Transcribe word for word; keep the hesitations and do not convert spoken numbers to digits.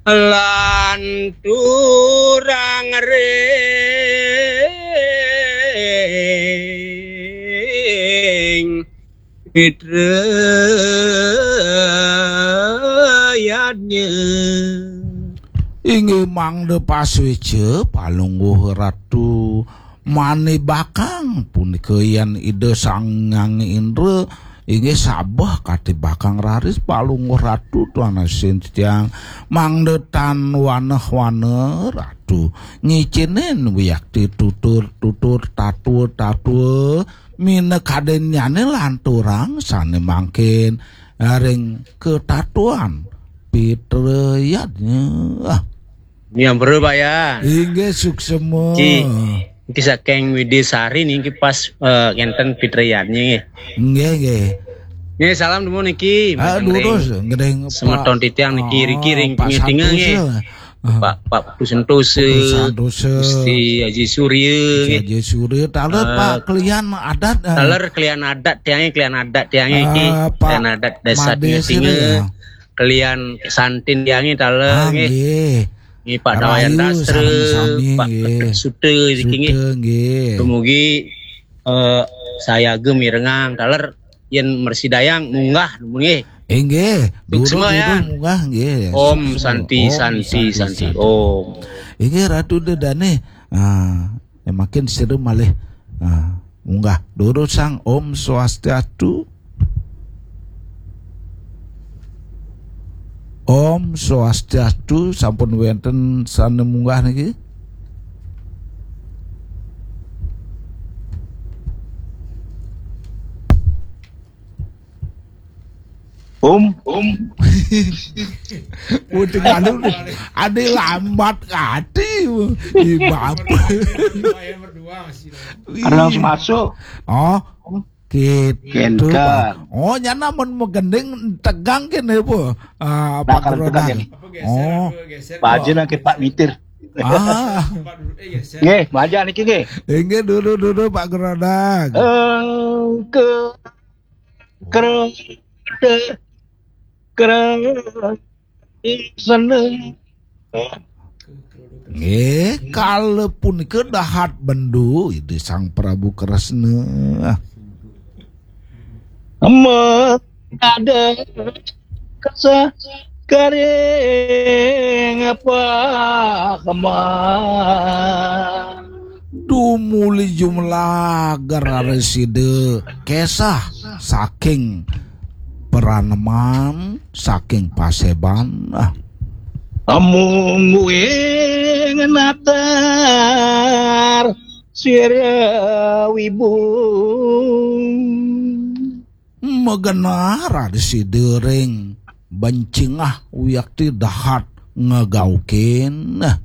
Lanturang ring Pitrayadnya. Inggih mangda pasueca, Palungguh Ratu manibakang punika yen Ida Sang Hyang Indra inggih sabeh katibakang raris Palungguh Ratu tuanasin titiang mangda tan waneh-waneh Ratu ngicinin wiakti tutur-tutur tatua-tatua minakadinnyane lanturang sane mangkin ring katatuan Pitrayadnya. Ah. Nyampura, Pak, ya. Inggih suksema. Ki, niki saking Widisari niki pas eh, ngenten Pitrayadnya nggih. Nggih, nggih. Nggih, salam dumun niki. Ah, durus, nggih, semeton titiang niki, oh, riki ring Pak tinga nggih. Santosa. Ah. Pak, Pak Putu Sentosa, Putu Sentosa. Gusti Aji Surya, Gusti nggih. Aji Surya, taler, eh, Pak, kelian adat, eh. Taler kelian adat tiangnya, kelian adat tiangnya iki. Ah, Pak kelian adat desa Made tinga, sini, ya. Kelian santin tiangnya taler, ah, nggih. Nggih. Nggih, Pak Dawayan Rahayu, Dastra, sareng sami, Pak nggih. Suta, niki, nggih. Suta, nggih. Dumugi, eh, sayaga mirengang taler yen mresidayang munggah, nggih. Inggih, suksma, durus, ya. Durus munggah, nggih. Om suksma. Santi, om santi, santi, santi, santi. Om. Inggih, Ratu Dedane. Ah, ya makin sira malih. Ah, munggah. Durus sang Om Swastiastu. Om Swastiastu, sampun wenten sane munggah niki. Om, om. Udah nganu, ada lambat kati. Ih, bapak. Ada langsung masuk. Oh, gitu. Kenter. Oh, nyana mun magending tegang kene apa? Ah, Pak Grodang. Apa geser, oh. Apa geser? Baja nang Pak Mitir. Ah. Nggih, baja niki nggih. Inggih, dulu, dulu, Pak Grodang. Engke Krada, krada seneng. Nggih, kala punika dahat bendu Ida Sang Prabu Kresna. Mendadak kesah garing apa kemah. Tumuli jumlah gerar sida kesah saking Praneman, saking Paseban. Ah. Amung wing natar sira wibu. Magenah radi sida ring bencingah wiakti dahat ngegaukin. Nah.